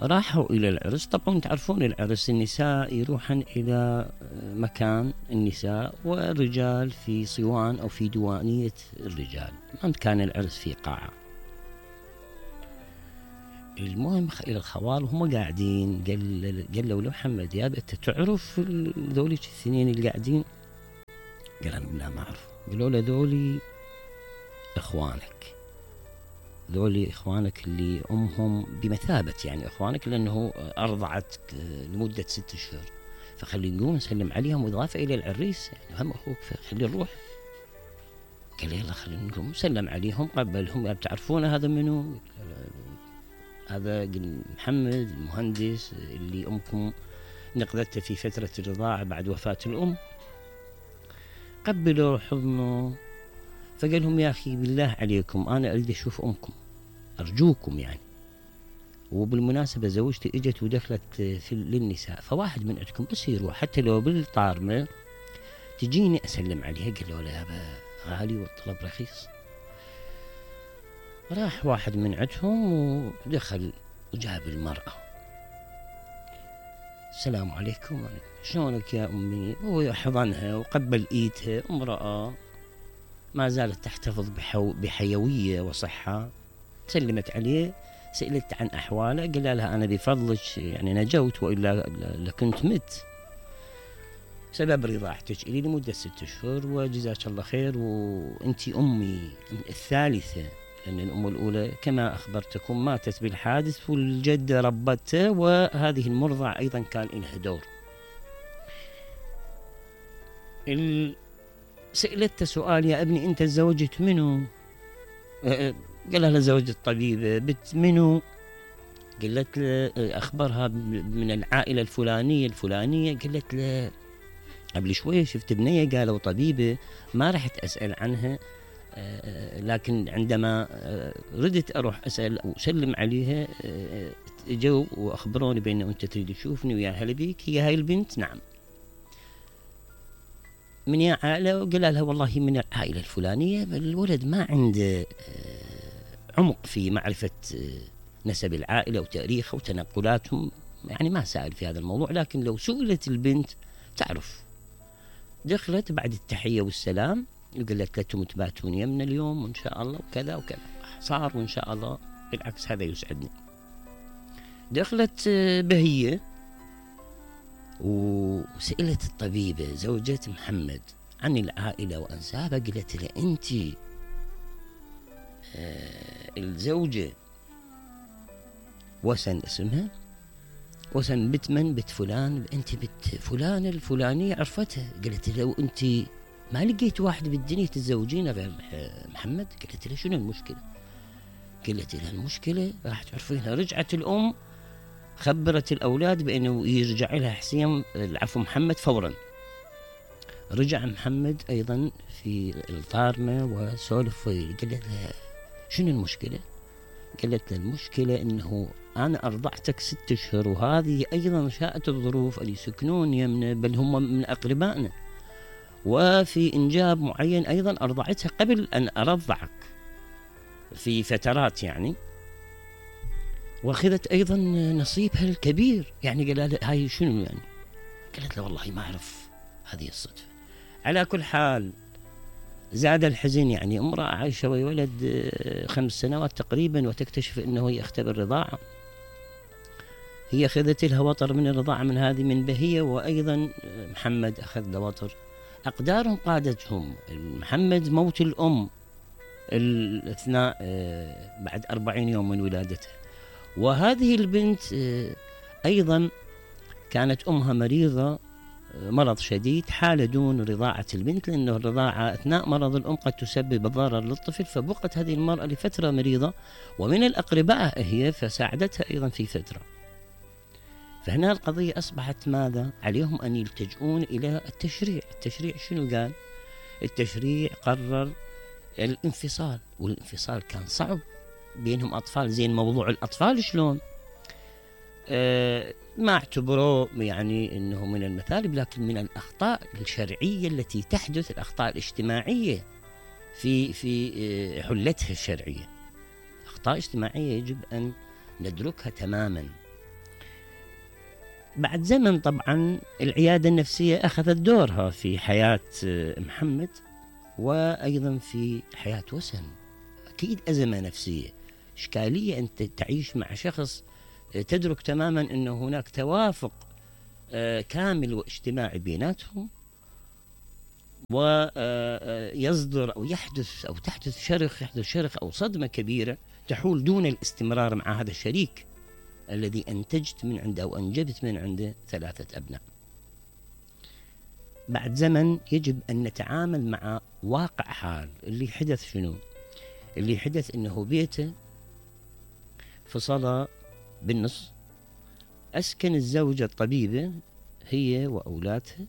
راحوا إلى العرس. طبعا تعرفون العرس النساء يروحن إلى مكان النساء والرجال في صوان أو في ديوانية الرجال. ما كان العرس في قاعة. المهم إلى الخوال وهم قاعدين قالوا له محمد دياب أنت تعرف ذولي الثنين اللي قاعدين؟ قال أنا لا ما أعرف. قالوا له ذولي إخوانك، ذولي إخوانك اللي أمهم بمثابة يعني إخوانك، لأنه أرضعت لمدة 6 أشهر، فخلي نقوم نسلم عليهم إضافة إلى العريس، يعني هم أخوك فخلي نروح. قال يلا خلينا نقوم نسلم عليهم. قبلهم تعرفون هذا منو؟ هذا محمد المهندس اللي أمكم نقذته في فترة الرضاعة بعد وفاة الأم. قبلوا حضنه، فقال لهم يا أخي بالله عليكم أنا أريد أشوف أمكم أرجوكم يعني. وبالمناسبة زوجتي إجت ودخلت للنساء، فواحد من عندكم بس يروح حتى لو بالطارمة تجيني أسلم عليها. قال له لا يابا غالي والطلب رخيص. راح واحد من عندهم ودخل وجاب المرأة. السلام عليكم، شلونك يا أمي؟ هو حضنها وقبل إيدها. امرأة ما زالت تحتفظ بحيوية وصحة. سلمت عليه، سألت عن أحواله، قال لها أنا بفضلك يعني نجوت وإلا لكنت مت. سبب رضاعتك إلي لمدة 6 أشهر وجزاك الله خير، وأنت أمي الثالثة، لأن الأم الأولى كما أخبرتكم ماتت بالحادث والجدة ربته، وهذه المرضع أيضا كان لها دور. سألت سؤال يا ابني أنت تزوجت منو؟ قال لها زوجت طبيبة. بنت منو؟ قالت له أخبرها من العائلة الفلانية. قالت له قبل شوية شفت بنية قالوا طبيبة، ما رحت أسأل عنها، لكن عندما ردت أروح أسأل أو أسلم عليها جو وأخبروني بأنه أنت تريد تشوفني ويا هلا بيك. هي هاي البنت؟ نعم. من يا عائلة؟ وقال لها والله من العائلة الفلانية. الولد ما عنده عمق في معرفة نسب العائلة وتاريخها وتنقلاتهم، يعني ما سأل في هذا الموضوع، لكن لو سئلت البنت تعرف. دخلت بعد التحية والسلام وقالت لكم تباتون يمنا اليوم وإن شاء الله وكذا وكذا. صار وإن شاء الله، بالعكس هذا يسعدني. دخلت بهية وسألت الطبيبة زوجة محمد عن العائلة وأنسابها. قالت له أنت الزوجة وسن اسمها، وسن بنت من؟ بنت فلان. أنت بنت فلان الفلانية عرفتها. قالت له وأنت ما لقيت واحد بالدنيا تتزوجين غير محمد؟ قالت له شنو المشكلة؟ قالت له المشكلة راح تعرفينها. رجعت الأم خبرت الأولاد بأنه يرجع لها حسين العفو محمد فورا. رجع محمد أيضا في الطارمة وسولف. قالت له شنو المشكلة؟ قالت له المشكلة أنه أنا أرضعتك 6 أشهر، وهذه أيضا شاءت الظروف أن يسكنون يمنا، بل هم من أقربائنا، وفي إنجاب معين أيضا أرضعتها قبل أن أرضعك في فترات يعني، واخذت أيضا نصيبها الكبير. يعني قال لها هاي شنو يعني؟ قالت له والله ما أعرف، هذه الصدفة. على كل حال زاد الحزن، يعني امرأة عايشة وولد 5 سنوات تقريبا وتكتشف أنه يختبر رضاعة. هي أخذت لها وطر من الرضاعة من هذه من بهية، وأيضا محمد أخذ له وطر. أقدارهم قادتهم. محمد موت الأم الاثناء بعد 40 يوم من ولادتها، وهذه البنت أيضا كانت أمها مريضة مرض شديد، حال دون رضاعة البنت، لأنه الرضاعة أثناء مرض الأم قد تسبب ضرر للطفل، فبقت هذه المرأة لفترة مريضة ومن الأقرباء هي، فساعدتها أيضا في فترة. فهنا القضية أصبحت ماذا؟ عليهم أن يلتجؤون إلى التشريع. التشريع شنو قال؟ التشريع قرر الانفصال، والانفصال كان صعب، بينهم أطفال. زين موضوع الأطفال شلون؟ ما اعتبروه يعني أنه من المثالب، لكن من الأخطاء الشرعية التي تحدث، الأخطاء الاجتماعية في حلتها الشرعية. أخطاء اجتماعية يجب أن ندركها تماما. بعد زمن طبعا العيادة النفسية أخذت دورها في حياة محمد وأيضا في حياة وسن. أكيد أزمة نفسية، إشكالية أنت تعيش مع شخص تدرك تماما أنه هناك توافق كامل واجتماعي بيناتهم، ويصدر أو يحدث أو تحدث شرخ أو صدمة كبيرة تحول دون الاستمرار مع هذا الشريك الذي أنتجت من عنده أو أنجبت من عنده 3 أبناء. بعد زمن يجب أن نتعامل مع واقع حال. اللي حدث شنو؟ اللي حدث إنه بيته فصل بالنص، أسكن الزوجة الطبيبة هي وأولادها،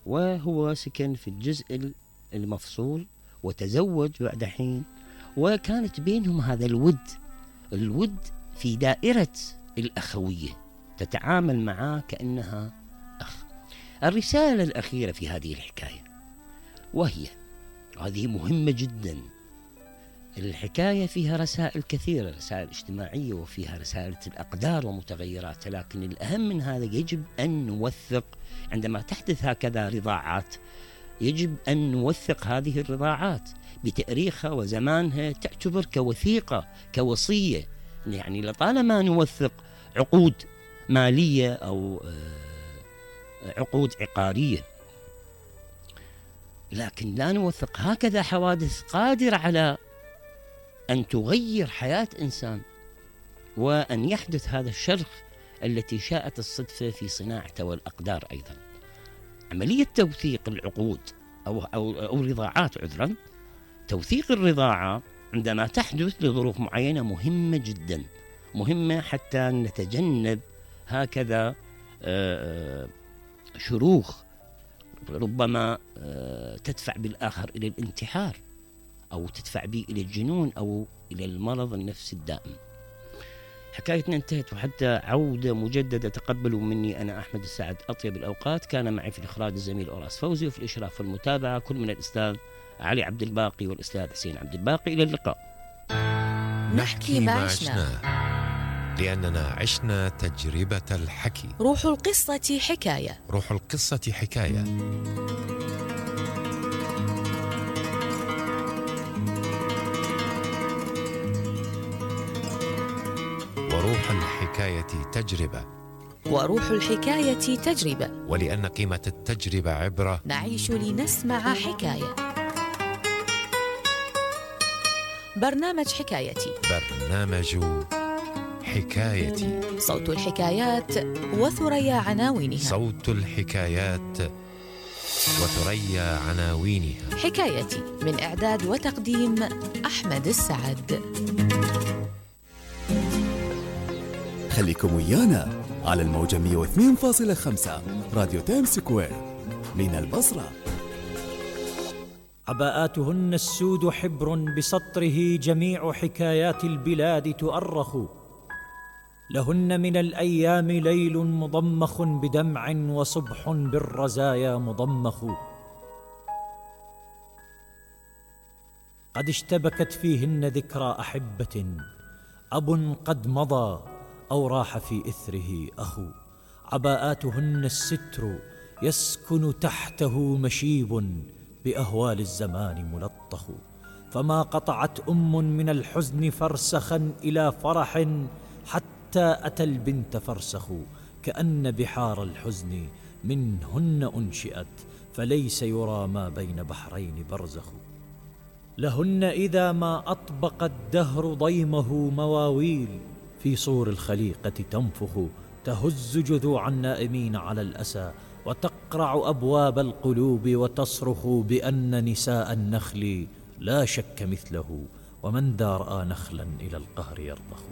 وهو سكن في الجزء المفصول، وتزوج بعد حين، وكانت بينهم هذا الود في دائرة الأخوية، تتعامل معه كأنها أخ. الرسالة الأخيرة في هذه الحكاية، وهذه مهمة جدا، الحكاية فيها رسائل كثيرة، رسائل اجتماعية وفيها رسائل الأقدار ومتغيرات، لكن الأهم من هذا يجب أن نوثق عندما تحدث هكذا رضاعات، يجب أن نوثق هذه الرضاعات بتاريخها وزمانها، تعتبر كوثيقة كوصية. يعني لطالما نوثق عقود مالية أو عقود عقارية، لكن لا نوثق هكذا حوادث قادرة على أن تغير حياة إنسان، وأن يحدث هذا الشرخ التي شاءت الصدفة في صناعته والأقدار. أيضا عملية توثيق العقود أو رضاعات، توثيق الرضاعة عندما تحدث لظروف معينة مهمة جدا، مهمة حتى نتجنب هكذا شروخ ربما تدفع بالآخر إلى الانتحار، أو تدفع به إلى الجنون أو إلى المرض النفسي الدائم. حكايتنا انتهت، وحتى عودة مجددة تقبلوا مني أنا أحمد السعد أطيب الأوقات. كان معي في الإخراج الزميل أوراس فوزي، وفي الإشراف والمتابعة كل من الأستاذ علي عبد الباقي والأستاذ حسين عبد الباقي. إلى اللقاء. نحكي ما عشنا، لأننا عشنا تجربة الحكي. روح القصة حكاية. روح القصة حكاية. وروح الحكاية تجربة. وروح الحكاية تجربة. ولأن قيمة التجربة عبرة، نعيش لنسمع حكاية. برنامج حكايتي. برنامج حكايتي. صوت الحكايات وثريا عناوينها. صوت الحكايات وثريا عناوينها. حكايتي من إعداد وتقديم أحمد السعد. خليكم ويانا على الموجة 102.5 راديو تايم سكوير من البصرة. عباءاتهن السود حبر بسطره جميع حكايات البلاد تؤرخ، لهن من الأيام ليل مضمخ بدمع وصبح بالرزايا مضمخ، قد اشتبكت فيهن ذكرى أحبة، أب قد مضى أو راح في إثره أخو، عباءاتهن الستر يسكن تحته مشيب بأهوال الزمان ملطخ، فما قطعت من الحزن فرسخا إلى فرح حتى أتى البنت فرسخ، كأن بحار الحزن منهن أنشئت، فليس يرى ما بين بحرين برزخ، لهن إذا ما أطبق الدهر ضيمه مواويل في صور الخليقة تنفخ، تهز جذوع النائمين على الأسى وتقرع أبواب القلوب وتصرخ بأن نساء النخل لا شك مثله، ومن ذا رأى نخلا إلى القهر يرضخ.